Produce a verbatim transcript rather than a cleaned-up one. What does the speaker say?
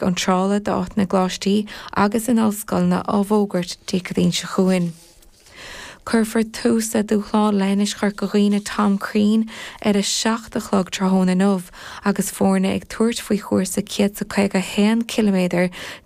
iontrála d'áiteanna i gcoláistí agus in ollscoileanna á bhfógairt Dé Céadaoin seo chugainn. Cuirfear tús le dúshlán Leithinis Chorca Dhuibhne Tom Crean ar a seacht a chlog tráthnóna inniu agus foirne ag tabhairt faoi chúrsa céad is a caoga a haon ciliméadar